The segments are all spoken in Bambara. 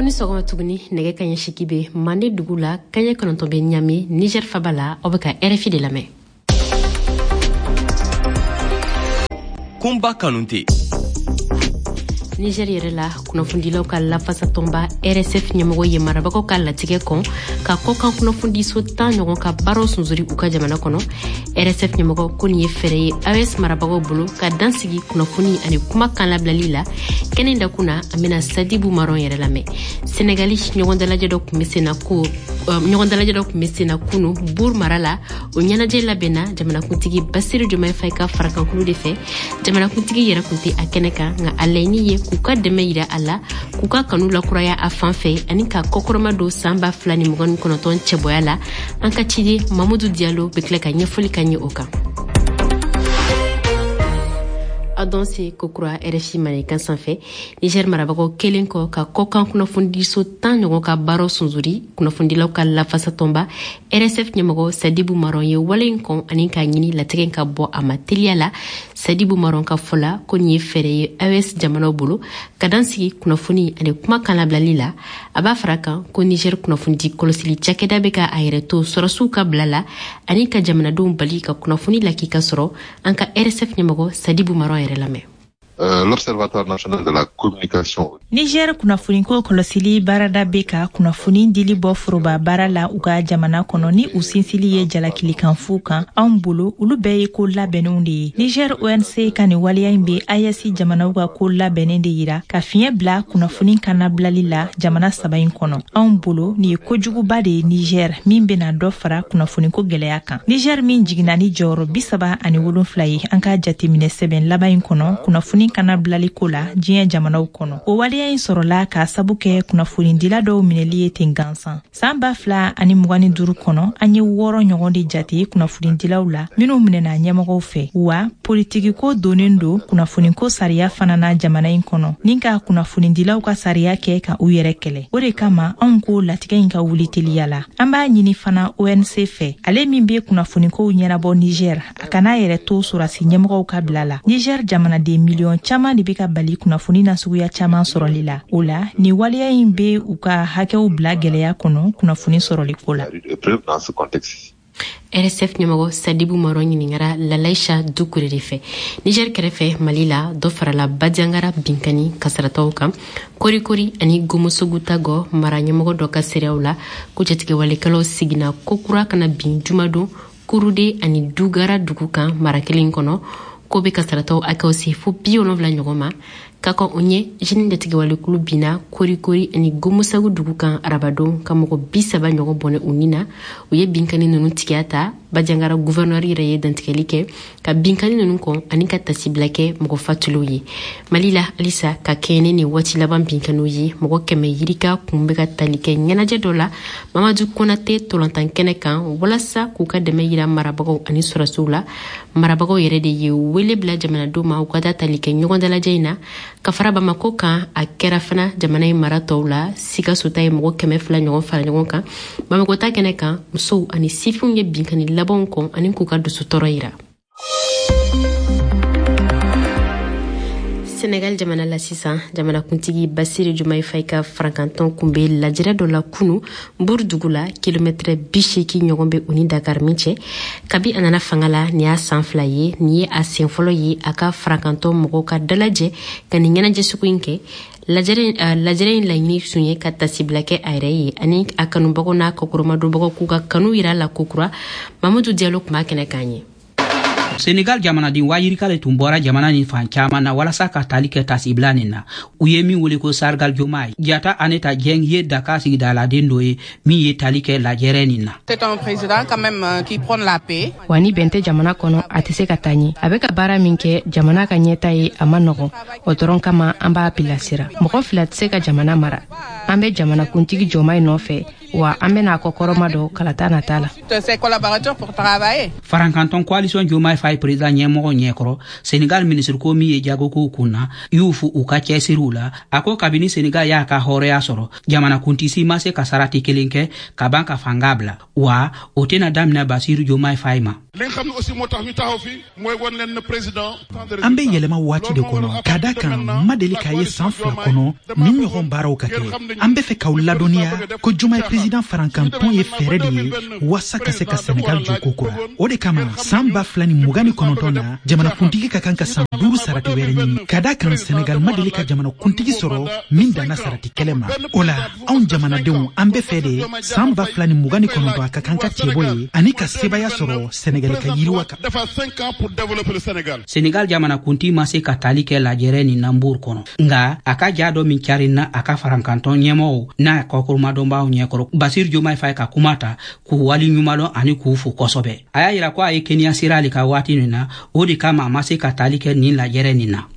Aw ni sɔgɔma tuguni. Nɛgɛ kaɲɛ 8 bɛ Mande dugu la, 9 bɛ Ɲame, Niger faba la. Aw bɛ ka RFI de lamɛn. Kunba Kanute. Niger yɛrɛ la, kunnafonidilaw ka lafasatɔnba RSF ɲɛmɔgɔ ye marabagaw ka latigɛ kɔn ka kɔkan kunnafonidiso 10 ɲɔgɔn ka baaraw sunsori u ka jamana kɔnɔ. RSF ɲɛmɔgɔ ko nin ye fɛɛrɛ ye AES marabagaw bolo ka dan sigi kunnafoni ani kuma kan labilali la. Kɛnɛ dakun na, an bɛna Sadibu Maron yɛrɛ lamɛn. Senegali, ɲɔgɔn dalajɛ dɔ tun bɛ sen na ko ɲɔgɔn dalajɛ dɔ tun bɛ sen na kunu Mbour mara la. O ɲɛnajɛ labɛnna jamanakuntigi Basiru Jomayi Fayi ka farakankulu de fɛ. Jamanakuntigi yɛrɛ tun tɛ a kɛnɛ kan, nka a laɲini ye k'u ka dɛmɛ yira a la, k'u ka kanu lakuraya a fan fɛ ani ka kɔkɔrɔma don san 2029 cɛbɔya la. An ka ciden Mamudu Diallo bɛ tila ka ɲɛfɔli ka ɲɛ o kan. Aw danse kokura RFI Mandenkan sanfɛ. Niger marabagaw kelen kɔ ka kɔkan kunnafonidiso 10 ɲɔgɔn ka baaraw sunsori, kunnafonidilaw ka lafasatɔnba RSF ɲɛmɔgɔ Sadibu Maron ye wale in kɔn ani k'a ɲini latigɛ ka bɔ a ma teliya la. Sadibu Maron ka fɔ la, ko nin ye fɛɛrɛ ye AES jamanaw bolo ka dan sigi kunnafoni ani kuma kan labilali la. A b'a fara kan ko Niger kunnafonidi kɔlɔsili cakɛda bɛ ka a yɛrɛ to sɔrɔsiw ka bila la ani ka jamanadenw bali ka kunnafoni lakika sɔrɔ. An ka RSF ɲɛmɔgɔ Sadibu Maron yɛrɛ lamɛn. L'Observatoire national de la communication. Niger kunnafoniko kɔlɔsili baarada bɛ ka kunnafoni dili bɔ foroba baara la u ka jamana kɔnɔ ni u sinsili ye jalakilikanfu kan. Anw bolo, olu bɛɛ ye ko labɛnnenw de ye. Niger ONC ka nin waleya in bɛ AES jamanaw ka ko labɛnnen de yira ka fiɲɛ bila kunnafoni kannabilali la jamana saba in kɔnɔ. Anw bolo, nin ye kojuguba de ye Niger, min bɛna dɔ fara kunnafoniko gwɛlɛya kan. Niger min jiginna ni jɔyɔrɔ 37 ye an ka jateminɛ sɛbɛn laban in kɔnɔ kunnafoni kannabilali ko la diɲɛ jamanaw kɔnɔ, o waleya in sɔrɔla k'a sabu kɛ kunnafonidila dɔw minɛli ye ten gansan. San 2025 kɔnɔ, an ye wɔɔrɔ ɲɔgɔn de jate kunnafonidilaw la minw minɛna ɲɛmɔgɔw fɛ. Wa politikiko donnen don kunnafoniko sariya fana na jamana in kɔnɔ, ni ka kunnafonidilaw ka sariya kɛ ka u yɛrɛ kɛlɛ. O de kama anw ko latigɛ in ka wuli teliya la. An b'a ɲini fana ONC fɛ, ale min be kunnafonikow ɲɛnabɔ Niger, a kana yɛrɛ to sɔrɔdasi ɲɛmɔgɔw ka bila la. Niger jamanaden miliyɔn caaman de be ka bali kunnafoni na suguya caaman sɔrɔli la. O la, nin waleya in be u ka hakɛw bila gwɛlɛya kɔnɔ kunnafoni sɔrɔli ko la. RSF ɲɛmɔgɔ Sadibu Maron ɲiningara Lalaisha Dukure de fɛ. Niger kɛrɛfɛ, Mali la, dɔ farala Badiangara binkani kasarataw kan Korikori ani Gomosogu Tagɔ mara ɲɛmɔgɔ dɔ ka seereyaw la, ko jatigɛwalekɛlaw seginna kokura kana bin jumadon Kurude ani Dugara dugu kan mara kelen kɔnɔ, ko be kasarataw hakɛw se fo 70 ɲɔgɔn ma. Ka kɔn o ɲɛ, JNIM jatigɛwalekulu binna Korikori ani Gomosagu dugu kan arabadon ka mɔgɔ 30 ɲɔgɔn bɔnɛ u ni na. U ye binkani nunu tigiya ta. Bajangara gouverneur yɛrɛ ye dantigɛli kɛ ka binkani nunu kɔn ani ka tasibila kɛ mɔgɔ fatuliw ye. Mali la halisa, ka kɛɲɛ ni waati laban binkaniw ye, mɔgɔ 100 yirika kun bɛ ka tali kɛ ɲɛnajɛ dɔ la Mamadu Konate tolantan kɛnɛ kan walasa k'u ka dɛmɛ yira marabagaw ani sɔrɔsiw la. Marabagaw yɛrɛ de ye wele bila jamanadenw ma u ka taa tali kɛ ɲɔgɔn dalajɛ in na. Ka fara Bamako kan, a kɛra fana jamana in mara tɔw la. Sikaso ta ye mɔgɔ 200 ɲɔgɔn fara ɲɔgɔn kan Bamako ta kɛnɛ kan. Musow ani sifinw ye binkani labanw kɔn ani k'u ka dusutɔrɔ yira. Senegal jamana la sisan, jamanakuntigi Basiru Jumayi Fayi ka farankantɔn kun be lajɛrɛ dɔ la kunu Mbour dugu la, kilomɛtrɛ 80 ɲɔgɔn be u ni Dakar min cɛ. Kabi a nana fanga la, nin y'a san 2 ye. Nin ye a sen fɔlɔ ye a ka farankantɔn mɔgɔw ka dalajɛ ka nin ɲɛnajɛ sugu in kɛ. Lajɛrɛ in laɲini tun ye ka tasibila kɛ a yɛrɛ ye ani a kanubagaw n'a kɔkɔrɔmadonbagaw k'u ka kanu yira la kokura. Mamudu Diallo tun b'a kɛnɛ kan ye. Senegal jamanaden wayirika le tun bɔra jamana ni fan caaman na walasa ka tali kɛ tasibila nin na, u ye min wele ko Sargal Jomai. Jata Aneta Jeng ye Dakar sigidaladen dɔ ye min ye tali kɛ lajɛrɛ nin na. Wa ni bɛn tɛ jamana kɔnɔ, a tɛ se ka taa ɲɛ. A bɛ ka baara min kɛ jamana ka ɲɛta ye, a ma nɔgɔn. O dɔrɔn kama an b'a bilasira. Mɔgɔ fila tɛ se ka jamana mara. An bɛ jamanakuntigi Jɔma nɔfɛ, wa an bɛna a kɔkɔrɔma dɔ kalata nata la. Farankantɔn Coalition Jomai Faye président ɲɛmɔgɔ ɲɛkɔrɔ, Senegal minisiriko min ye jagokow kun na y'u fo u ka cɛsiriw la. A ko kabini Senegal y'a ka hɔrɔnya sɔrɔ, jamanakuntisi ma se ka sarati kelen kɛ ka ban ka fanga bila, wa o tɛna daminɛ Basiru Jomai Faye ma. An bɛ yɛlɛma waati de kɔnɔ, ka da kan ma deli k'a ye san 2 kɔnɔ ni ɲɔgɔn baaraw ka kɛ. An An bɛ fɛ k'aw ladɔnniya ko Diomaye président farankantɔn ye fɛɛrɛ de ye waasa ka se ka Senegal jɔ kokura. O de kama san 2029 na, jamanakuntigi ka kan ka san 5 sarati wɛrɛ ɲini, ka da kan Senegal ma deli ka jamanakuntigi sɔrɔ min danna sarati kɛlɛ ma. O la, anw jamanadenw, an bɛ fɛ de san 2029 a ka kan ka cɛbɔ ye ani ka sebaya sɔrɔ Senegal ka yiriwa kan. Senegal jamanakuntigi ma se ka tali kɛ lajɛrɛ nin na Mbour kɔnɔ, nga a ka ja dɔ min carinna a ka farankantɔn ɲɛmɔgɔw n'a kɔkɔrɔmadɔnbaw ɲɛkɔrɔ, Basir Diomaye Faye ka kuma ta k'u wali ɲumanlɔn ani k'u fo kosɛbɛ. A y'a yira ko a ye keniya sira ale ka waati nin na, o de kama a ma se ka tali kɛ nin lajɛrɛ nin na.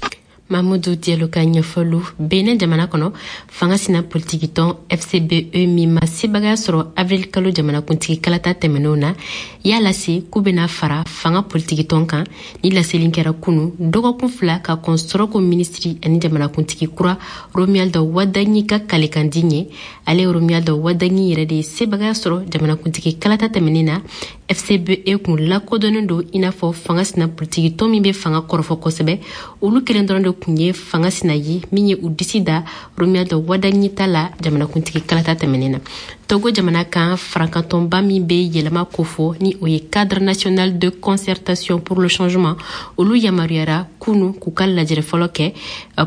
Mamudu Diallo ka ɲɛfɔliw. Benin jamana kɔnɔ, fanga sina politikitɔn FCBE min ma sebagaya sɔrɔ avril kalo jamanakuntigi kalata tɛmɛnenw na, y'a lase k'u bɛna fara fanga politikitɔn kan. Ni laseli kɛra kunu, dɔgɔkun 2 ka kɔn sɔrɔko minisiri ani jamanakuntigi kura Romuald Wadagni ka kalekandi ɲɛ. Ale Romuald Wadagni yɛrɛ de ye sebagaya sɔrɔ jamanakuntigi kalata tɛmɛnen na. FCBE kun lakodɔnnen don i n'a fɔ fanga sina politikitɔn min bɛ fanga kɔrɔfɔ kosɛbɛ. Olu kelen dɔrɔn de kun ye fanga sina ye min ye u disi da Romuald Wadagni ta la jamanakuntigi kalata tɛmɛnen na. Togo jamana kan, farankantɔnba min bɛ yɛlɛma kofɔ ni o ye Cadre national de concertation pour le changement, olu yamaruyara kunu k'u ka lajɛrɛ fɔlɔ kɛ.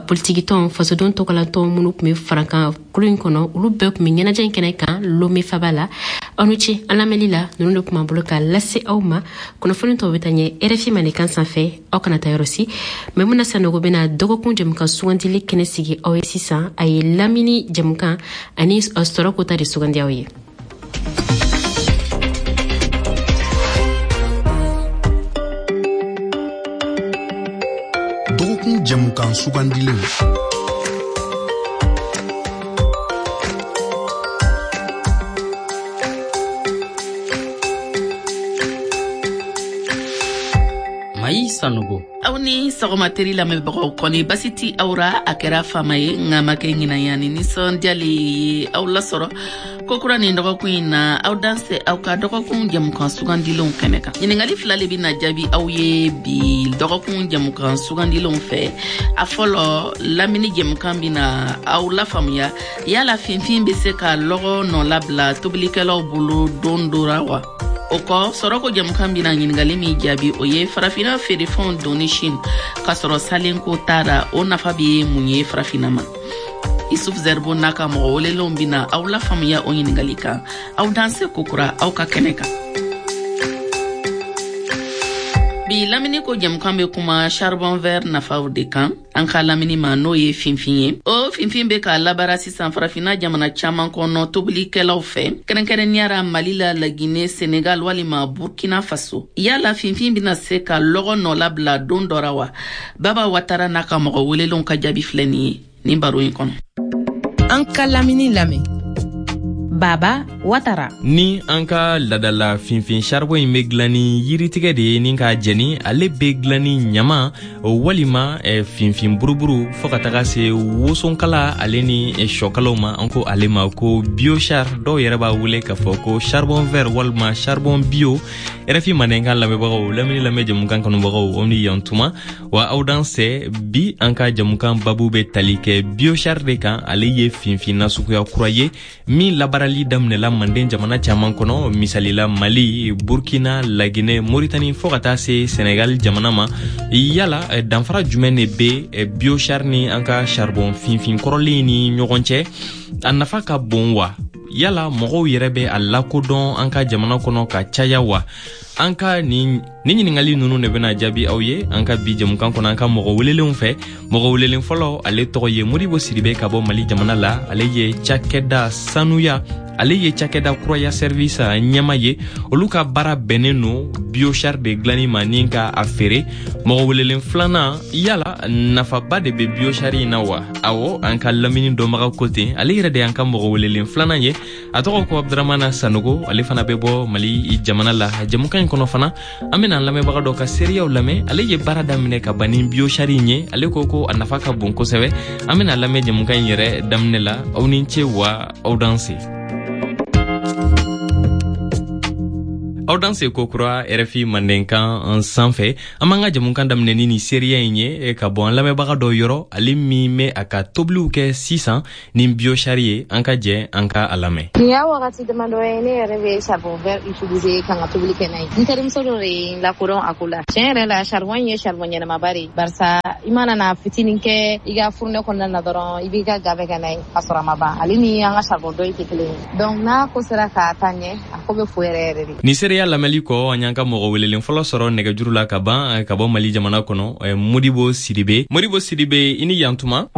Politikitɔn, fasodenw tɔgɔlatɔn minnu tun bɛ farankan kulu in kɔnɔ, olu bɛɛ tun bɛ ɲɛnajɛ in kɛnɛ kan Lomé faba la. Aw ni ce an lamɛnli la. Ninnu de tun b'an bolo ka lase aw ma. Kunnafoni tɔw bɛ taa ɲɛ RFI Mandenkan sanfɛ. Aw kana taa yɔrɔ si. Maimuna Sanogo bɛna dɔgɔkun jɛmukan sugandili kɛnɛ sigi aw ye sisan. A ye lamini jɛmukan ani sɔrɔ kota de sugandi aw ye. Dɔgɔkun jɛmukan sugandilenw. Mayi Sanogo. Aw ni sɔgɔma teri lamɛnbagaw, kɔni basi ti aw ra? A kɛra faama ye, nka ma kɛ ɲinan ye, ani nisɔndiyali ye aw lasɔrɔ kokura nin dɔgɔkun in na. Aw danse aw ka dɔgɔkun jɛmukan sugandilenw kɛnɛ kan. Ɲiningali 2 le bɛna jaabi aw ye bi dɔgɔkun jɛmukan sugandilenw fɛ. A fɔlɔ, lamini jɛmukan bɛna aw lafaamuya yala finfin bɛ se ka lɔgɔ nɔ labila tobilikɛlaw bolo don dɔ ra wa? O kɔ, sɔrɔko jɛmukan bɛna ɲininkali min jaabi, o ye farafinna feerefɛnw donni Chine k'a sɔrɔ salenko t'a ra, o nafa bɛ mun ye farafinna ma? Isuf Zerbo n'a ka mɔgɔ welelenw bɛna aw lafaamuya o ɲininkali kan. Aw danse kokura aw ka kɛnɛ kan. Bi lamini ko jɛmukan bɛ kuma charbon vert nafaw de kan an ka lamini ma, n'o ye finfin ye. O finfin bɛ ka labaara sisan farafinna jamana caman kɔnɔ tobilikɛlaw fɛ, kɛrɛnkɛrɛnnenya la Mali la, Laginɛ, Senegal walima Burkina Faso. Yala finfin bɛna se ka lɔgɔ nɔ labila don dɔ ra wa? Baba Watara n'a ka mɔgɔ welelenw ka jaabi filɛ nin ye nin baro in kɔnɔ. An ka lamini lamɛn. Baba Watara. Ni an ka ladala finfin charbon in bɛ dilan ni yiritigɛ de ye ni k'a jɛni, ale bɛ dilan ni ɲama walima finfin buruburu fɔɔ ka taga se wosonkala ale ni sɔkalaw ma. An ko ale ma ko biochar, dɔw yɛrɛ b'a wele k'a fɔ ko charbon vert walima charbon bio. RFI Mandenkan lamɛnbagaw, lamini lamɛn jɛmukan kanubagaw, aw ni yan tuma wa aw dansɛ. Bi an ka jɛmukan babu bɛ tali kɛ biochar de kan. Ale ye finfin nasuguya kura ye min labaarali daminɛla manden jamana caman kɔnɔ, misalila Mali, Burkina, Laginɛ, Moritani fɔɔ ka taa se Senegal jamana ma. Yala danfara jumɛn de bɛ biochar ni an ka charbon finfin kɔrɔlen ni ɲɔgɔn cɛ? A nafa ka bon wa? Yala mɔgɔw yɛrɛ bɛ a lakodɔn an ka jamana kɔnɔ ka caya wa? An ka nin ɲininkali ninnu de bɛna jaabi aw ye an ka bi jɛmukan kɔnɔ an ka mɔgɔ welelenw fɛ. Mɔgɔ welelen fɔlɔ, ale tɔgɔ ye Modibo Sidibe ka bɔ Mali jamana la. Ale ye cakɛda sanuya, ale ye cakɛda kuraya service ɲɛma ye. Olu ka baara bɛnnen no biochar de dilanni ma ni ka a feere. Mɔgɔ welelen filanan, yala nafaba de bɛ biochar in na wa? Awɔ, an ka lamini dɔnbaga ko ten. Ale yɛrɛ de y'an ka mɔgɔ welelen filanan ye. A tɔgɔ ko Abdramana Sanogo, ale fana bɛ bɔ Mali jamana la. Jɛmukan in kɔnɔ fana, an bɛna an lamɛnbaga dɔ ka seereyaw lamɛn. Ale ye baara daminɛ ka ban ni biochar in ye. Ale ko ko a nafa ka bon kosɛbɛ. An bɛna lamɛn jɛmukan in yɛrɛ daminɛ la. Aw ni ce wa aw danse. Aw Aw danse kokura RFI Mandenkan sanfɛ. An b'an ka jamukan daminɛ ni nin seereya in ye ka bɔ an lamɛnbaga dɔ yɔrɔ, ale min bɛ a ka tobiliw kɛ sisan ni biochar ye. An ka jɛ an ka a lamɛn. Nin y'a wagati damadɔ ye, ne yɛrɛ bɛ charbon vert utiliser ka n ka tobili kɛ n'a ye. N terimuso dɔ de ye n lakodɔn a ko la. Tiɲɛ yɛrɛ la, charbon ye charbon ɲɛnamaba de ye, barisa i mana na fitinin kɛ i ka fourneau kɔnɔna na dɔrɔn, i b'i ka ga bɛɛ kɛ n'a ye ka sɔrɔ a ma ban. Ale ni an ka charbon dɔ in tɛ kelen ye. Donc n'a ko sera ka taa ɲɛ, a ko bɛ fo yɛrɛ yɛrɛ de. Nin seereya lamɛnli kɔ, an y'an ka mɔgɔ welelen fɔlɔ sɔrɔ nɛgɛjuru la ka ban ka bɔ Mali jamana kɔnɔ, Modibo Sidibe. Modibo Sidibe, i ni yantuma.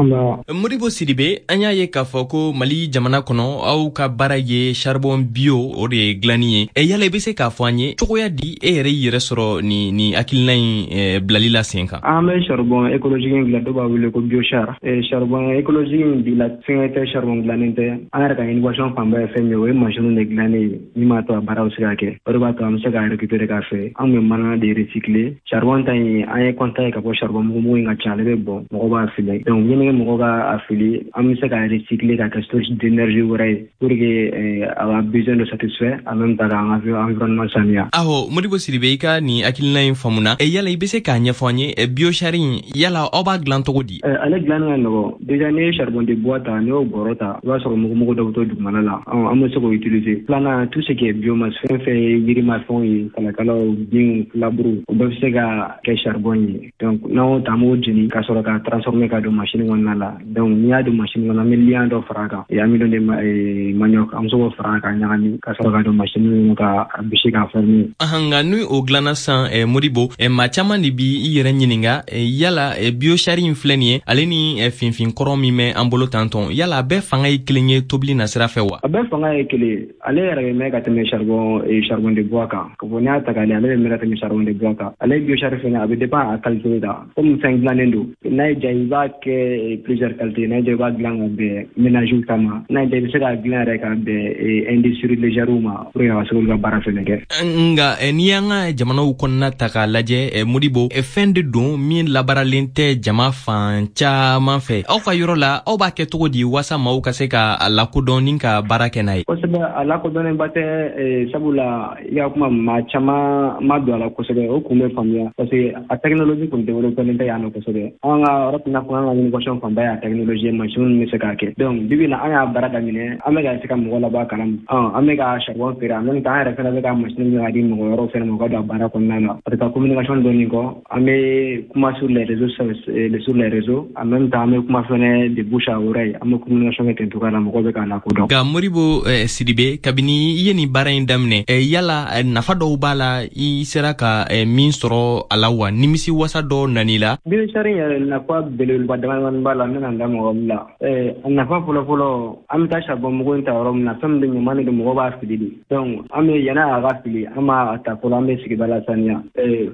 Modibo Sidibe, an y'a ye k'a fɔ ko Mali jamana kɔnɔ, aw ka baara ye charbon bio, o de ye dilanni ye. Yala i bɛ se k'a fɔ an ye cogoya di e yɛrɛ y'i yɛrɛ sɔrɔ nin hakilina in bilali la sen kan? An bɛ charbon écologique in dilan, dɔw b'a wele ko biochar. Charbon écologique in bila fɛngɛ tɛ, charbon dilannen tɛ. An yɛrɛ ka innovation fanba ye fɛn min ye, o ye machine de dilannen ye min b'a to a baara bɛ se ka kɛ. O de b'a to an bɛ se ka récupérer k'a fɛ. An bɛ mana de recycler. Charbon ta in, an ye constat ye ka fɔ charbon mugu in ka ca, ale bɛ bɔn, mɔgɔ b'a fili. Donc yanni mɔgɔ ka a fili, an bɛ se ka recycler ka kɛ source d'énergie wɛrɛ ye pour que a ka besoin de satisfaire, en même temps k'an ka environnement saniya. Aho, Modibo Sidibe, i ka nin hakilina in faamuna. Yala i bɛ se k'a ɲɛfɔ an ye, biochar in, yala aw b'a dilan cogo di? Ale dilanni ka nɔgɔn. Déjà, n'i ye charbon de bois ta, n'i y'o bɔrɔ ta, i b'a sɔrɔ mugumugu dɔ bɛ to dugumana la. An bɛ se k'o utiliser. Filanan, tout ce qui est biomasse, fɛn fɛn ye yirimafɛnw ye, kalakalaw, binw, filaburu, o bɛɛ bɛ se ka kɛ charbon ye. Donc n'an y'o ta, an b'o jeni ka sɔrɔ k'a transformer ka don machine kɔnɔna la. Donc n'i y'a don machine kɔnɔ, an bɛ liant dɔ fara a kan, amidon de manioc, an bɛ se k'o fara a kan, ɲagami ka sɔrɔ ka don machine kɔnɔ ka bisi k'a former. Nka ni o dilanna sisan, Modibo, maa caman de b'i yɛrɛ ɲininka, yala biochar in filɛ nin ye, ale ni finfin kɔrɔ min bɛ an bolo tantɔn, yala a bɛɛ fanga ye kelen ye tobili nasira fɛ wa? A bɛɛ fanga ye kelen ye. Ale yɛrɛ bɛ mɛn ka tɛmɛ charbon de bois kan. Ka fɔ n'i y'a ta k'a lajɛ, ale bɛ mɛn ka tɛmɛ charbon de bois kan. Ale biochar fɛnɛ, a bɛ dépend a qualité de la. Komi fɛn dilannen don, n'a y'i diya i b'a kɛ plusieurs qualités. N'a y'i diya i b'a dilan ka bɛn ménage ta ma, n'a y'i diya i bɛ se k'a dilan yɛrɛ ka bɛn industrie légère ma pour que a ka se k'olu ka baara fɛnɛ kɛ. Nka n'i y'an ka jamanaw kɔnɔna ta k'a lajɛ, Modibo, fɛn de don min labaaralen tɛ jama fan caman fɛ. Aw ka yɔrɔ la, aw b'a kɛ cogo di waasa maaw ka se ka a lakodɔn ni ka baara kɛ n'a ye? Kosɛbɛ, a lakodɔnnenba tɛ, sabula i ka kuma, maa caman ma don a la kosɛbɛ. O kun bɛ faamuya parce que a technologie kun développé tɛ yan nɔ kosɛbɛ. An ka yɔrɔ tɛna fɔ an ka innovation fanba y'a technologie, machine bɛ se k'a kɛ. Donc bibi in na, an y'a baara daminɛ, an bɛ ka se ka mɔgɔ labɔ a kalama. An bɛ ka charbon feere, en même temps an yɛrɛ fɛnɛ bɛ ka machine k'a di mɔgɔ wɛrɛw fɛnɛ ma, u ka don a baara kɔnɔna la. A tɛ taa communication dɔɔni kɔ, an bɛ kuma sur les réseaux, sur les réseaux, en même temps an bɛ kuma fɛnɛ de bouche à oreille, an bɛ communication kɛ ten cogoya la, mɔgɔw bɛ k'a lakodɔn. Nka Modibo Sidibe, kabini i ye nin baara in daminɛ, yala nafa dɔw b'a la i sera ka min sɔrɔ a la wa, nimisi wasa dɔ nan'i la? Biochar yɛrɛ nafa belebeleba damadamanin b'a la, n bɛna n da mɔgɔ min la. A nafa fɔlɔfɔlɔ, an bɛ taa charbon mugu in ta yɔrɔ min na, fɛn min bɛ ɲaman de don, mɔgɔ b'a fili de. Donc an bɛ yanni a ka fili, an b'a ta fɔlɔ, an bɛ sigida lasaniya.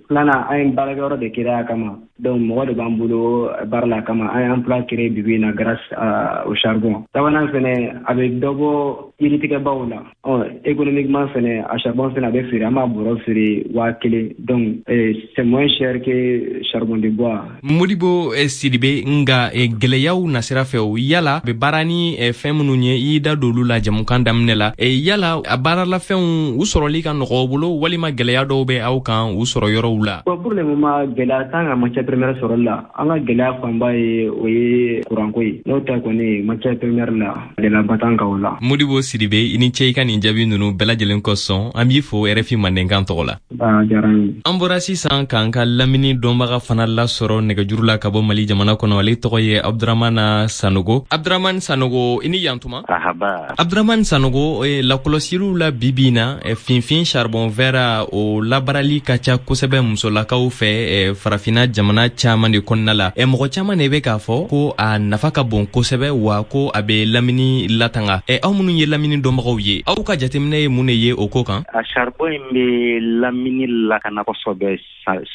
Filanan, an ye baarakɛyɔrɔ de créer a kama. Donc mɔgɔ de b'an bolo baara la kama, an ye emploi créé bibi in na grâce au charbon. Sabanan fɛnɛ, a bɛ dɔ bɔ yiritigɛbaw la. Économiquement fɛnɛ, a charbon fɛnɛ a bɛ feere, an b'a bɔrɔ feere 1000. Donc c'est moins cher que charbon de bois. Modibo Sidibe, nka gɛlɛyaw nasira fɛ, o yala bɛ baara ni fɛn minnu ye, i y'i da don olu la jamukan daminɛ la, yala a baaralafɛnw u sɔrɔli ka nɔgɔ bolo, walima gɛlɛya dɔw bɛ aw kan u sɔrɔ yɔrɔw la? Bon, pour le moment, gɛlɛya t'an ka matière première sɔrɔli la. An ka gɛlɛya fanba ye, o ye kuranko ye. N'o tɛ kɔni, matière première la, gɛlɛyaba t'an kan o la. Modibo Sidibe, i ni ce i ka nin jaabi ninnu bɛɛ lajɛlen kosɔn. An b'i fo RFI Mandenkan tɔgɔ la. Diyara n ye. An bɔra sisan k'an ka lamini dɔnbaga fana lasɔrɔ nɛgɛjuru la ka bɔ Mali jamana kɔnɔ. Ale tɔgɔ ye Abdramana Sanogo. Abdramane Sanogo, i ni yantuma. Ahaba. Abdramane Sanogo, lakɔlɔsiliw la bibi in na, finfin charbon vert, o labaarali ka ca kosɛbɛ musolakaw fɛ Farafinna jamana caman de kɔnɔna la. Mɔgɔ caman de bɛ k'a fɔ ko a nafa ka bon kosɛbɛ, wa ko a bɛ lamini latanga. Aw minnu ye lamini dɔnbagaw ye, aw ka jateminɛ ye mun de ye o ko kan? A charbon in bɛ lamini lakana kosɛbɛ,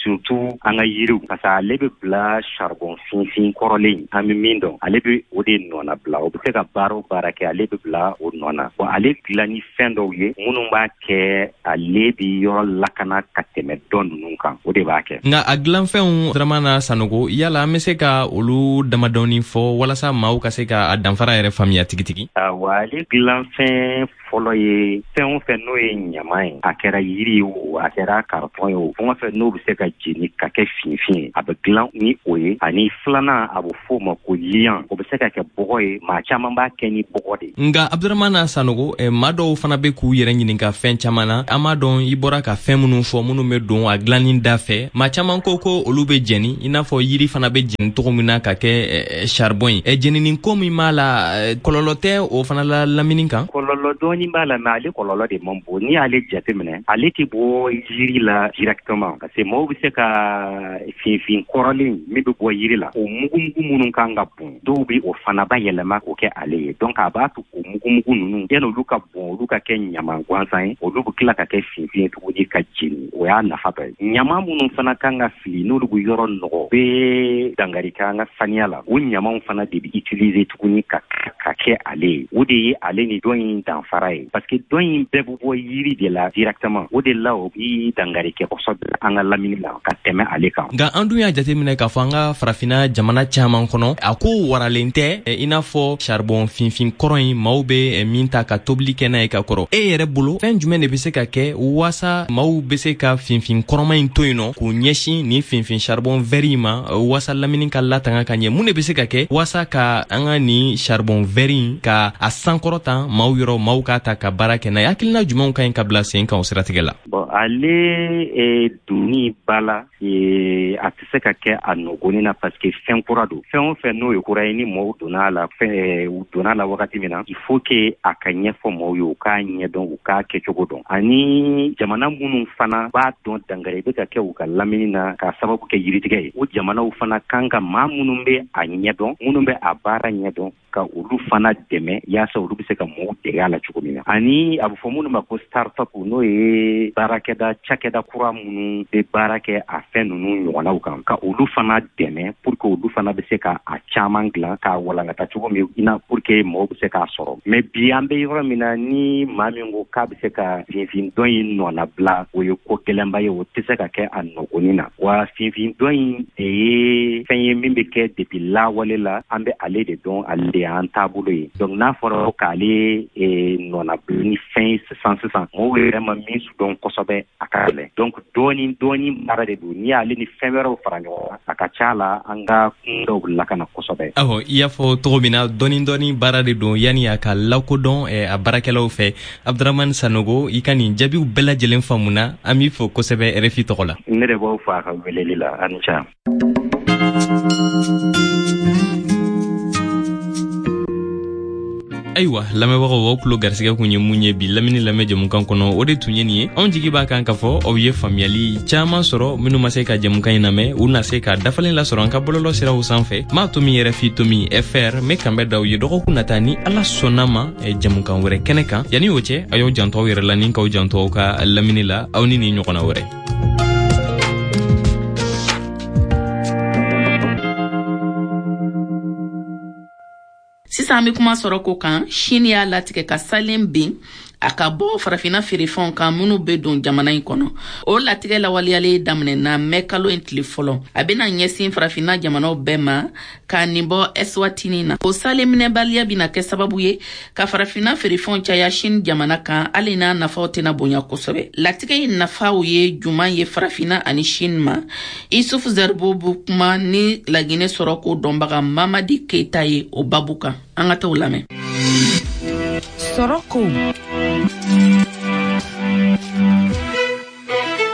surtout an ka yiriw, parce que ale bɛ bila charbon finfin kɔrɔlen an bɛ min dɔn, ale bɛ o de nɔna bila. O bɛ se ka baara o baara kɛ, ale bɛ bila o nɔ na. Bon, ale dilan ni fɛn dɔw ye minnu b'a kɛ ale bɛ yɔrɔ lakana ka tɛmɛ dɔ ninnu kan, o de b'a kɛ. Nka a dilanfɛnw, Dramana Sanogo, yala an bɛ se ka olu damadɔni fɔ walasa maaw ka se ka a danfara yɛrɛ faamuya tigitigi? Awa, ale dilanfɛn. fɔlɔ ye fɛn o fɛn n'o ye ɲama ye, a kɛra yiri ye o, a kɛra carton ye o, fɛn o fɛn n'o bɛ se ka jeni ka kɛ finfin ye, a bɛ dilan ni o ye. Ani filanan, a bɛ f'o ma ko liant, o bɛ se ka kɛ bɔgɔ ye, maa caman b'a kɛ ni bɔgɔ de ye. Nka Abdramana Sanogo, maa dɔw fana bɛ k'u yɛrɛ ɲininka fɛn caman na. An b'a dɔn i bɔra ka fɛn minnu fɔ, minnu bɛ don a dilanni da fɛ, maa caman ko ko olu bɛ jɛni i n'a fɔ yiri fana bɛ jɛni cogo min na ka kɛ charbon ye. Jɛnini ko min b'a la, kɔlɔlɔ tɛ o fana la lamini kan? Kɔlɔlɔ dɔɔni b'a la, mais ale kɔlɔlɔ de man bon. N'i y'ale jateminɛ, ale tɛ bɔ yiri la directement, parce que mɔgɔw bɛ se ka finfin kɔrɔlen min bɛ bɔ yiri la, o mugumugu minnu kan ka bɔn, dɔw bɛ o fana bayɛlɛma k'o kɛ ale ye. Donc a b'a to o mugumugu ninnu, yanni olu ka bɔn, olu ka kɛ ɲama gansan ye, olu bɛ tila ka kɛ finfin ye tuguni ka jeni. O y'a nafa dɔ ye. Ɲama minnu fana kan ka fili, n'olu bɛ yɔrɔ nɔgɔ, bɛ dankari kɛ an ka saniya la, o ɲamaw fana de bɛ utiliser tuguni ka kɛ ale ye. O de ye ale ni dɔ in danfara ye, parce que dɔ in bɛɛ bɛ bɔ yiri de la directement. O de la o bɛ dankari kɛ kosɛbɛ an ka lamini la ka tɛmɛ ale kan. Nka an dun y'a jateminɛ k'a fɔ an ka farafinna jamana caman kɔnɔ, a ko waralen tɛ i n'a fɔ charbon finfin kɔrɔ in, maaw bɛ min ta ka tobili kɛ n'a ye ka kɔrɔ. E yɛrɛ bolo, fɛn jumɛn de bɛ se ka kɛ waasa maaw bɛ se ka finfin kɔrɔma in to yen nɔ k'u ɲɛsin nin finfin charbon vert in ma, waasa lamini ka latanga ka ɲɛ? Mun de bɛ se ka kɛ waasa ka an ka nin charbon vert in ka a sankɔrɔta maaw yɔrɔ, maaw k'a ta ka baara kɛ n'a ye? Hakilina jumɛnw ka ɲi ka bila sen kan o siratigɛ la? Bon, ale donni ba la, a tɛ se ka kɛ a nɔgɔnin na, parce que fɛn kura don. Fɛn o fɛn n'o ye kura ye, ni mɔgɔw donna a la, fɛn u donna a la wagati min na, il faut que a ka ɲɛfɔ mɔgɔw ye, u k'a ɲɛdɔn, u k'a kɛcogo dɔn. Ani jamana minnu fana b'a dɔn dankari bɛ ka kɛ u ka lamini na k'a sababu kɛ yiritigɛ ye, o jamanaw fana kan ka maa minnu bɛ a ɲɛdɔn, minnu bɛ a baara ɲɛdɔn, ka olu fana dɛmɛ yaasa olu bɛ se ka mɔgɔw dege a la cogo min na. Ani a bɛ fɔ minnu ma ko start-up, n'o ye baarakɛda cakɛda kura minnu bɛ baara kɛ a fɛn ninnu ɲɔgɔnnaw kan, ka olu fana dɛmɛ pour que olu fana bɛ se ka a caman dilan k'a walankata cogo min na, pour que mɔgɔw bɛ se k'a sɔrɔ. Mais bi an bɛ yɔrɔ min na, ni maa min ko k'a bɛ se ka finfin dɔ in nɔnabila, o ye ko gɛlɛnba ye, o tɛ se ka kɛ a nɔgɔnin na. Wa finfin dɔ in de ye fɛn ye min bɛ kɛ depuis lawale la, an bɛ ale de dɔn, ale de y'an taabolo ye. Donc n'a fɔra k'ale nɔnabila ni fɛn ye sisan sisan, mɔgɔw yɛrɛ ma min dɔn kosɛbɛ, a ka gɛlɛn. Donc dɔɔni dɔɔni baara de don. N'i y'ale ni fɛn wɛrɛw fara ɲɔgɔn kan, a ka ca la an ka kun dɔw lakana kosɛbɛ. Awɔ, i y'a fɔ cogo min na, dɔɔni dɔɔni baara de don yanni a ka lakodɔn a baarakɛlaw fɛ. Abdramane Sanogo, i ka nin jaabiw bɛɛ lajɛlen faamuna, an b'i fo kosɛbɛ RFI tɔgɔ la. Ne de b'aw fo a ka weleli la, a ni ce. Ayiwa lamɛnbagaw, aw tulo garisigɛ kun ye mun ye bi lamini lamɛn jɛmukan kɔnɔ, o de tun ye nin ye. Anw jigi b'a kan k'a fɔ aw ye faamuyali caaman sɔrɔ. Minnu ma se ka jɛmukan in lamɛn, u na se ka dafalen lasɔrɔ an ka bɔlɔlɔ siraw sanfɛ, m'a tomi RFI tomi fr. N bɛ kanbɛ d'aw ye dɔgɔkun nata ni Ala sɔnna ma jɛmukan wɛrɛ kɛnɛ kan. Yanni o cɛ, a y'aw janto aw yɛrɛ la ni k'aw janto aw ka lamini la. Aw ni nin ɲɔgɔnna wɛrɛ. Sisan an bɛ kuma sɔrɔ ko kan. Chine y'a latigɛ ka salen bin a ka bɔ farafinna feerefɛnw kan minnu bɛ don jamana in kɔnɔ. O latigɛ lawaleyalen daminɛna mɛ kalo in tile fɔlɔ. A bɛna ɲɛsin farafinna jamanaw bɛɛ ma ka nin bɔ Eswatini na. O salen minɛbaliya bɛna kɛ sababu ye ka farafinna feerefɛnw caya Chine jamana kan, hali n'a nafaw tɛna bonya kosɛbɛ. Latigɛ in nafaw ye juman ye farafinna ani Chine ma? Issouf Zerbo bɛ kuma ni Laginɛ sɔrɔko dɔnbaga Mamadi Keita ye o babu kan. An ka t'o lamɛn. Sɔrɔko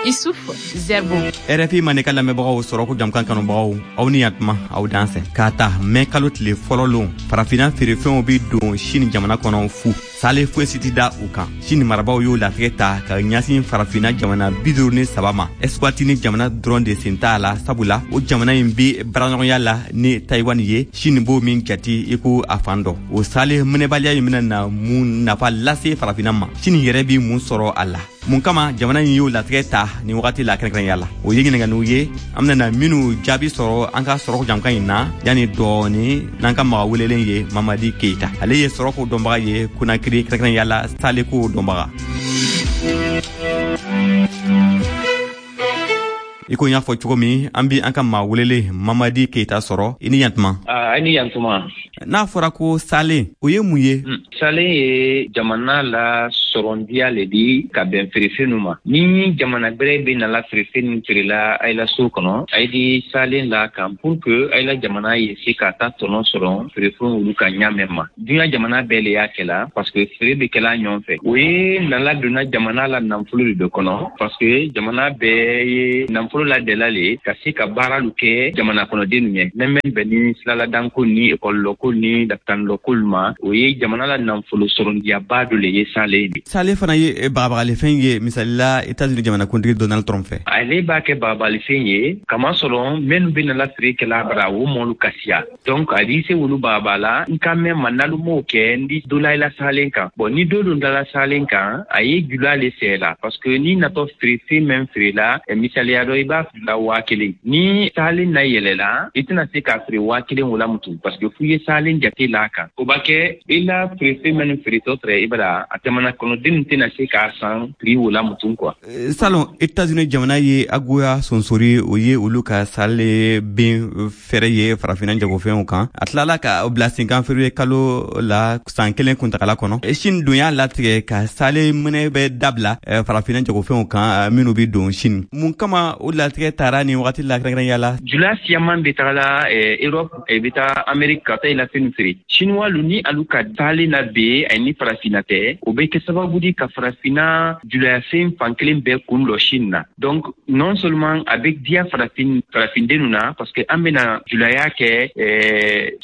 Issouf Zerbo. RFI Maninka lamɛnbagaw, sɔrɔko jamukan kanubagaw, aw ni yantuma, aw dansɛ. K'a ta mɛ kalo tile fɔlɔ lon, farafinna feerefɛnw bi don Chine jamana kɔnɔ fu, sale foyi si tɛ da u kan. Chine marabaw y'o latigɛ ta ka ɲɛsin farafinna jamana 53 ma. Eswatini jamana dɔrɔn de sen t'a la, sabula o jamana in bi baaraɲɔgɔnya la ni Taïwan ye, Chine b'o min jate i ko a fan dɔ. O sale minɛbaliya in bɛna na mun nafa lase farafinna ma? Chine yɛrɛ bi mun sɔrɔ a la? Mun kama jamana in y'o latigɛ ta nin wagati la kɛrɛnkɛrɛnya la? O ye ɲininkaliw ye an bɛna minnu jaabi sɔrɔ an ka sɔrɔko jamukan in na yanni dɔɔni n'an ka maga welelen ye Mamadi Keita. Ale ye sɔrɔko dɔnbaga ye Konakiri, kɛrɛnkɛrɛnya la saleko dɔnbaga. I ko n y'a fɔ cogo min, an bi an ka maa welelen Mamadi Keita sɔrɔ. I ni yantuma. I ni yantuma. N'a fɔra ko salen, o ye mun ye? Salen ye jamana la sɔrɔndiya le di ka bɛn feerefɛnw ma. Ni jamana gbɛrɛ bɛ nala feerefɛn min feerela a la so kɔnɔ, a di salen la kan pour que a la jamana ye se ka taa tɔnɔ sɔrɔ feerefɛnw olu ka ɲa mɛn ma. Duɲa jamana bɛɛ le y'a kɛla parce que feere bɛ kɛla ɲɔgɔn fɛ. O ye nala donna jamana la nafolo de kɔnɔ parce que jamana bɛɛ ye nafolo ladɛla le ka se ka baaralu kɛ jamana kɔnɔdennu ɲɛ. Mɛn bɛn ni silaladanko ni ekɔlilɔko ni lapitanilɔkolu ma, o ye jamana la nafolo sɔrɔndiyaba dɔ le ye salen de. Salen fana ye bagabagalifɛn ye, misali la États-Unis jamanakuntigi Donald Trump fɛ. Ale b'a kɛ bagabagalifɛn ye kamasɔrɔ minnu bɛ nala feere kɛla bara o mɔlu ka siya. Donc a di se wolu bagaba la n ka mɛn ma n'alu m'o kɛ n di dɔ la i la salen kan. Bon, ni dɔ don dala salen kan, a ye jula le sɛ la parce que ni natɔ feere fɛn mɛn feere la, misaliya dɔ, i b'a feere la 1000. Ni salen na yɛlɛla, i tɛna se k'a feere 1000 o la mutu parce que f'u ye salen jate la kan. O b'a kɛ i la feere fɛn minnu feeretɔ tɛrɛ i bara a jamana kɔnɔdenw tɛna se k'a san prix o la mutu quoi. Salon, États-Unis jamana ye agoya sonsori, o ye olu ka sale ben fɛrɛ ye farafinna jagofɛnw kan. A tilala ka bila sen kan février kalo la san kelen kuntagala kɔnɔ. Chine dun y'a latigɛ ka sale minɛ bɛ dabila farafinna jagofɛnw kan minnu bɛ don Chine. Mun kama o latigɛ taara nin wagati la kɛrɛnkɛrɛnya la? Jula siyaman bɛ tagala Europe, bɛ taa Amérique ka taa i la fɛn feere. Chinois lu ni alu ka taalen na be ani farafinna tɛ, o bɛ kɛ sababu di ka farafinna julayafɛn fan kelen bɛɛ kun lɔ Chine na. Donc non seulement a bɛ diya farafindenw na parce que an bɛna julaya kɛ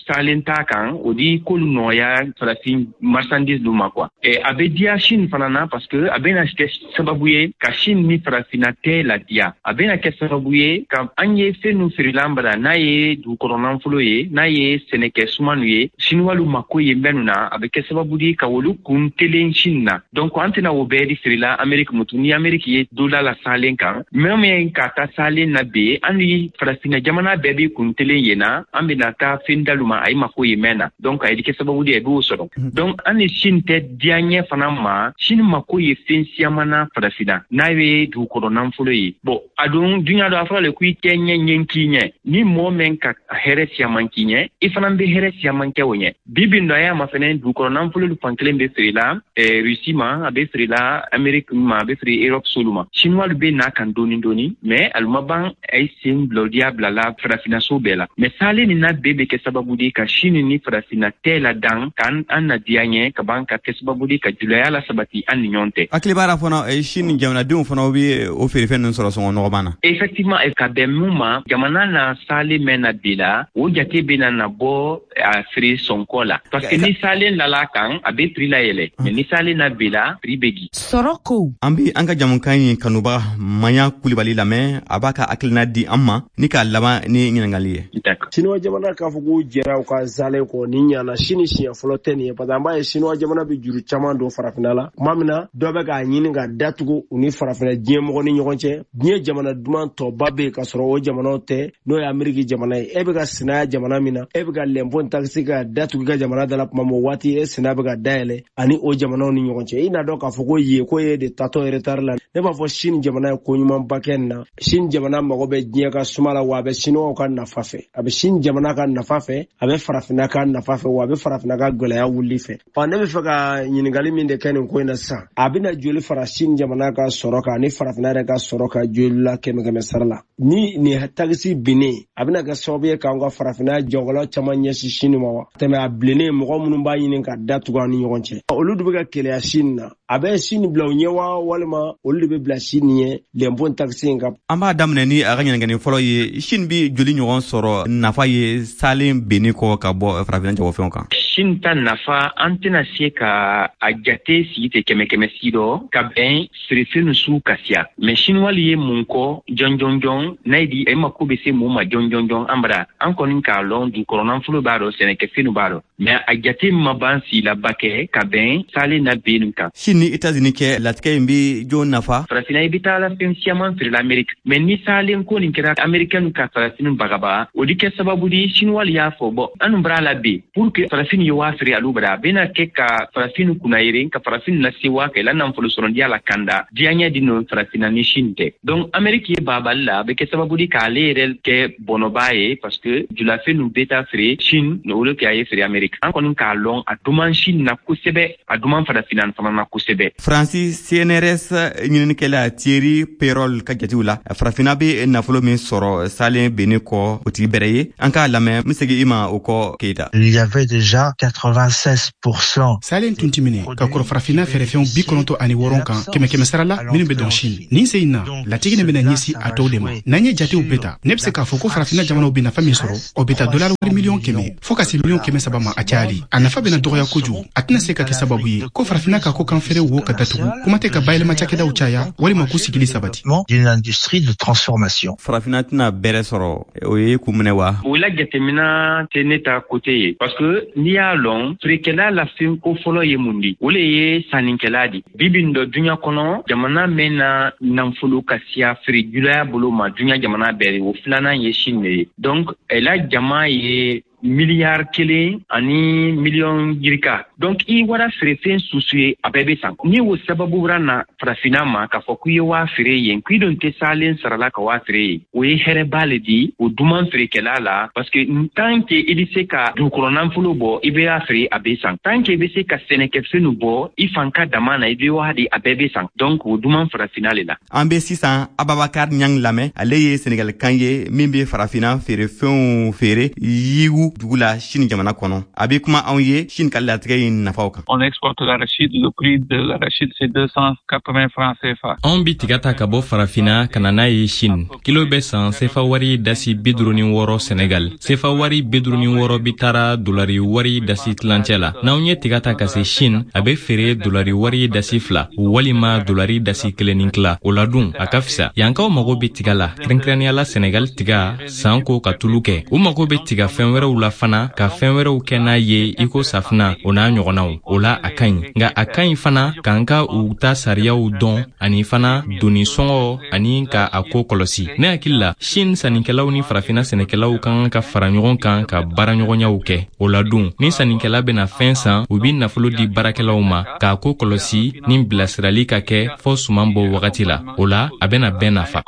salen t'a kan, o di k'olu nɔgɔya farafin marchandise lu ma quoi. A bɛ diya Chine fana na parce que a bɛna kɛ sababu ye ka Chine ni farafinna tɛ ladiya. A bɛna kɛ sababu ye ka an ye fɛn nu feerela an bara, n'a ye dugukɔrɔ nafolo ye, n'a ye sɛnɛkɛ sumanu ye, Chinois mako ye mɛnnu na, a bɛ kɛ sababu di ka olu kun telen Chine na. Donc an tɛna o bɛɛ di feerela Amérique mutu. Ni Amérique ye dɔ la salen kan, mɛn ka taa salen na be, an ni farafinna jamana bɛɛ bɛ kun telen yen na, an bɛna taa fɛn dalu ma a ye mako ye mɛn na. Donc a ye kɛ sababu di a b'o sɔrɔ. Donc an ni Chine tɛ diya ɲɛ fana ma. Chine mako ye fɛn siyaman na farafinna, n'a ye dugukɔrɔ nafolo ye. Bon, a dun duɲa dɔ a fɔra le ko i tɛ ɲɛ ɲɛ k'i ɲɛ. Ni mɔgɔ mɛn ka hɛrɛ siyaman k'i ɲɛ, i fana bɛ hɛrɛ siyaman kɛ o ɲɛ. Bi bi dɔ a y'a ma fɛnɛ dugukɔrɔ nafolo fan kelen bɛ feerela Russie ma, a bɛ feerela Amérique ma, a bɛ feere Europe solu ma. Chinois bɛ n'a kan dɔɔni dɔɔni, mais alu ma ban a ye sen bila o diya bila la farafinna so bɛɛ la. Mais salen nin na bɛɛ bɛ kɛ sababu de ka Chine ni farafinna tɛ la dan k'an an na diya ɲɛ ka ban ka kɛ sababu de ka julaya la sabati an ni ɲɔgɔn tɛ. Hakili b'a la fana Chine jamanadenw fana bɛ o feerefɛn ninnu sɔrɔ sɔngɔ nɔgɔman na. Effectivement, ka bɛn mun ma, jamana na salen mɛn na bi la, o jate bɛ na bɔ a feere sɔnkɔ la parce que ni salen lala kan, a bɛ prix la yɛlɛ, mais ni salen na bi la, prix bɛ di. Sɔrɔ ko. An bɛ an ka jamukan in kanubaga Maɲa Kulibali lamɛn, a b'a ka hakilina di an ma ni k'a laban ni ɲininkali ye. Siniwa jamana k'a fɔ k'u jɛra u ka salen kɔ ni ɲana sini siɲɛ fɔlɔ tɛ nin ye, parce que an b'a ye Siniwa jamana bɛ juru caman don farafinna la. Tuma min na dɔ bɛ k'a ɲini ka datugu u ni farafinna diɲɛ mɔgɔ ni ɲɔgɔn cɛ, diɲɛ jamana duman tɔba bɛ yen ka sɔrɔ o jamanaw tɛ, n'o ye Ameriki jamana ye. E bɛ ka sinaya jamana min na, e bɛ ka lɛnpon takisi ka datugu i ka jamana da la tuma min, o waati e sina bɛ ka dayɛlɛ ani o jamanaw ni ɲɔgɔn cɛ. I n'a dɔn k'a fɔ ko yen ko ye de tatɔ retard la. Ne b'a fɔ Chine jamana ye ko ɲumanba kɛ nin na. Chine jamana mago bɛ diɲɛ ka suma la, wa a bɛ Chinois ka nafa fɛ, a bɛ Chine jamana ka nafa fɛ, a bɛ farafinna ka nafa fɛ, wa a bɛ farafinna ka gɛlɛya wuli fɛ. Ɔ, ne bɛ fɛ ka ɲininkali min de kɛ nin ko in na sisan, a bɛna joli fara Chine jamana ka sɔrɔ kan ani farafinna yɛrɛ ka sɔrɔ kan joli la kɛmɛ kɛmɛ sara la? Ni nin takisi binnen, a bɛna kɛ sababu ye k'an ka farafinna jagokɛlaw caman ɲɛsin Chine ma wa? Tɛmɛ a bilennen, mɔgɔ minnu b'a ɲini ka datugu an ni ɲɔgɔn cɛ, olu de bɛ ka keleya Chine na. A bɛ Chine bila u ɲɛ wa, walima olu de bɛ bila Chine ɲɛ lɛnpon takisi in kan? An b'a daminɛ ni a ka ɲininkali fɔlɔ ye. Chine bɛ joli ɲɔgɔn sɔrɔ nafa ye salen benni kɔ ka bɔ farafinna jagofɛnw kan? Chine ta nafa, an tɛna se ka a jate sigi tɛ kɛmɛ kɛmɛ si dɔ ka bɛn feerefɛn su ka siya. Mais Chinois ye mun kɔ jɔn jɔn jɔn n'a ye di e mako bɛ se mun ma jɔn jɔn jɔn an bara, an kɔni k'a lɔn dugukɔrɔ nafolo b'a dɔn, sɛnɛkɛfɛnw b'a dɔn, mais a jate ma ban silaba kɛ ka bɛn salen na bennu kan. Chine ni États-Unis cɛ latigɛ in bɛ jɔn nafa? Farafinna, i bɛ taa la fɛn siyaman feerela Amérique, mais ni salen ko nin kɛra Américain ka farafin bagaba, o di kɛ sababu di Chinois y'a fɔ bɔn anu bara la bi pour que farafin ye waa feere alu bara, a bɛna kɛ ka farafin kunnayere ka farafin lase waa kɛ la nafolo sɔrɔdiya la kanda diyaɲɛ di no farafinna ni Chine tɛ. Donc Amérique ye babali la, a bɛ kɛ sababu di k'ale yɛrɛ kɛ bɔnɔba ye parce que julafɛn nu bɛ taa feere Chine, olu kɛ a ye feere Amérique. An kɔni k'a lɔn a duman Chine na kosɛbɛ, a duman farafinna fana. tɔɔrɔna kosɛbɛ. Faransi CNRS ɲininikɛla Thierry Perol ka jatew la, farafinna bɛ nafolo min sɔrɔ salen benni kɔ, o tigi bɛrɛ ye. An k'a lamɛn, n bɛ segin i ma o kɔ, Keyita. Il y avait déjà 96%. Salen tun ti minɛ ka kɔrɔ farafinna feerefɛnw 96 kan kɛmɛ kɛmɛ sara la minnu bɛ don Chine. Nin sen in na, latigɛ nin bɛna ɲɛsin a tɔw de ma. N'an ye jatew bɛɛ ta, ne bɛ se k'a fɔ ko farafinna jamanaw bɛ nafa min sɔrɔ, o bɛ taa dolari wari 100 miliyɔn fo ka se 300 miliyɔn ma a cayali. A nafa bɛna dɔgɔya kojugu. A tɛna se ka kɛ sababu ye ko farafinna ka kɔkan feere wo ka datugu, kuma tɛ ka bayɛlɛma cakɛdaw caya walima k'u sigili sabati. D'une industrie de transformation. Farafinna tɛna bɛrɛ sɔrɔ, o ye kun minɛ wa? O la jateminɛ tɛ ne ta côté ye, parce que n'i y'a lɔn, feerekɛla la fɛn ko fɔlɔ ye mun di? O le ye sannikɛla di. Bi bi dɔ duɲa kɔnɔ, jamana min na nafolo ka siya feere julaya bolo ma duɲa jamana bɛɛ, o filanan ye Chine de ye. Donc la jama ye miliyari 1 ani miliyɔn yirika. Donc i wara feerefɛn susu ye, a bɛɛ bɛ san. Ni o sababu wɛrɛ na farafinna ma k'a fɔ k'i ye waa feere yen, k'i don tɛ salen sarala ka waa feere yen, o ye hɛrɛba le di o duman feerekɛla la, parce que tant que i bɛ se ka dugukɔrɔ nafolo bɔ, i bɛ y'a feere, a bɛ san. Tant que i bɛ se ka sɛnɛkɛfɛnw bɔ i fan ka dama na, i bɛ waa di, a bɛɛ bɛ san. Donc o duman farafinna le la. An bɛ sisan Ababakar Ɲang lamɛn. Ale ye Senegalkan ye min bɛ farafinna feerefɛnw feere Yiwu dugu la, Chine jamana kɔnɔ. A bɛ kuma anw ye Chine ka latigɛ in nafaw kan. On exporte l'arachide, le prix de l'arachide, c'est 280 francs CFA. Anw bi tiga ta ka bɔ farafina ka na n'a ye Chine. Kilo bɛ san sefa wari dasi 56 Senegal. Sefa wari 56 bi taara dolari wari dasi tilancɛ la. N'anw ye tiga ta ka se Chine, a bɛ feere dolari wari dasi 2 walima dolari dasi kelen ni tila. O la dun, a ka fisa. Yankaw mago bɛ tiga la, kɛrɛnkɛrɛnnenya la Senegal tiga san ko ka tulu kɛ. U mago bɛ tiga fɛn wɛrɛw la fana, ka fɛn wɛrɛw kɛ n'a ye, i ko safina, o n'a ɲɔgɔnnaw. O la a ka ɲi, nka a ka ɲi fana k'an ka u ta sariyaw dɔn, ani fana doni sɔngɔ, ani ka a ko kɔlɔsi. Ne hakili la, Chine sannikɛlaw ni farafina sɛnɛkɛlaw ka kan ka fara ɲɔgɔn kan ka baaraɲɔgɔnyaw kɛ. O la dun, ni sannikɛla bɛna fɛn san, u bi nafolo di baarakɛlaw ma k'a ko kɔlɔsi ni bilasirali ka kɛ fɔɔ suman bɔ wagati la. O la a bɛna bɛɛ nafa.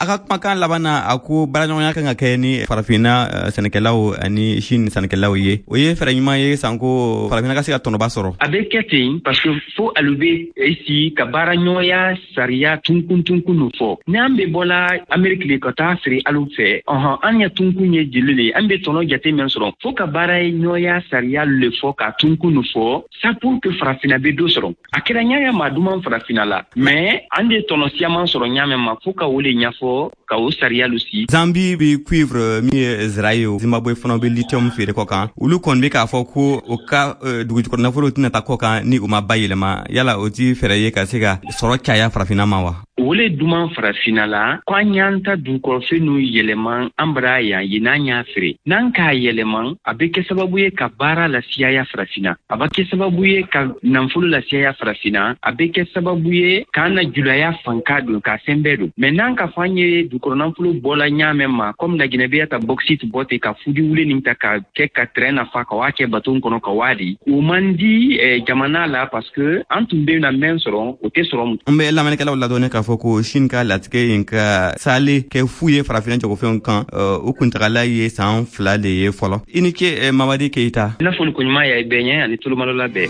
A ka kumakan laban na, a ko baaraɲɔgɔnya kan ka kɛ ni farafinna sɛnɛkɛlaw ani Chine sɛnɛkɛlaw ye. O ye fɛɛrɛ ɲuman ye sanko farafinna ka se ka tɔnɔba sɔrɔ. A bɛ kɛ ten, parce que fo alu bɛ esi ka baara ɲɔgɔnya sariya tunkun tunkun fɔ. N'an bɛ bɔla Ameriki le ka taa feere alu fɛ, ɔhɔn, an ya tunkun ye jeli le, an bɛ tɔnɔ jate min sɔrɔ, fo ka baara ɲɔgɔnya sariya le fɔ ka tunkun fɔ sa pour que farafinna bɛ dɔ sɔrɔ. A kɛra ɲaya maa duman farafinna la, mais an de tɔnɔ siyaman sɔrɔ ɲa ma, fo ka o le ɲɛfɔ ka o sariya lu si. Zambi bi cuivre min ye zira ye, Zimbabwe fana bɛ lithium feere kɔ kan. Olu kɔni bɛ k'a fɔ ko o ka dugujukɔrɔ nafolo tɛna taa kɔ kan ni u ma bayɛlɛma. Yala o ti fɛɛrɛ ye ka se ka sɔrɔ caya farafinna ma wa? O le duman farafinna la ko an y'an ta dugukɔrɔfɛn n'u yɛlɛma an bara yan yen, n'an y'a feere, n'an k'a yɛlɛma, a bɛ kɛ sababu ye ka baara lasiyaya farafinna, a bɛ kɛ sababu ye ka nafolo lasiyaya farafinna, a bɛ kɛ sababu ye k'an na julaya fanka don ka fɛn bɛɛ don. Mais n'an ka fɔ an ye dugukɔrɔ nafolo bɔla ɲaamɛ ma, komi laginɛ bɛ ta bauxite bɔ ten, ka fudi wule nin ta ka kɛ ka train nafa ka waa kɛ bateau kɔnɔ ka waa di, o man di jamana la, parce que an tun bɛ na mɛn sɔrɔ, o tɛ sɔrɔ. An bɛ lamɛnnikɛlaw ladɔnni k'a fɔ ko Chine ka latigɛ in ka sale kɛ fu ye farafinna jagofɛnw kan, o kuntagala ye san 2 de ye fɔlɔ. I ni ce, Mamadi Keyita. I n'a fɔ koɲuman y'a bɛɛ ɲɛ ani tolomalɔla bɛɛ.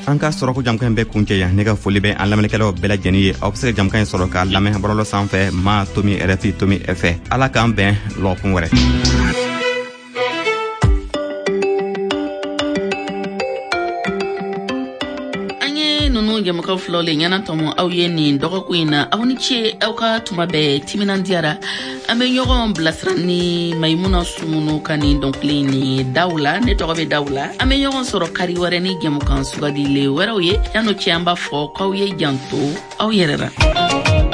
An ka sɔrɔko jamukan in bɛ kuncɛ yan. Ne ka foli bɛ an lamɛnnikɛlaw bɛɛ lajɛlen ye. Aw bɛ se ka jamukan in sɔrɔ k'a lamɛn bɔlɔlɔ sanfɛ ma.rfi.fr. Ala k'an bɛn lɔgɔkun wɛrɛ. An ye nunu jɛmukan filaw le ɲɛna tɔmɔ aw ye nin dɔgɔkun in na. Aw ni ce, aw ka tuma bɛɛ timinandiyara. An bɛ ɲɔgɔn bilasira ni Maimuna Sumunu ka nin dɔnkili ni daw la. Ne tɔgɔ bɛ daw la. An bɛ ɲɔgɔn sɔrɔ kari wɛrɛ ni jɛmukan sugandile wɛrɛw ye. Yan'o cɛ, an b'a fɔ k'aw ye janto aw yɛrɛ la.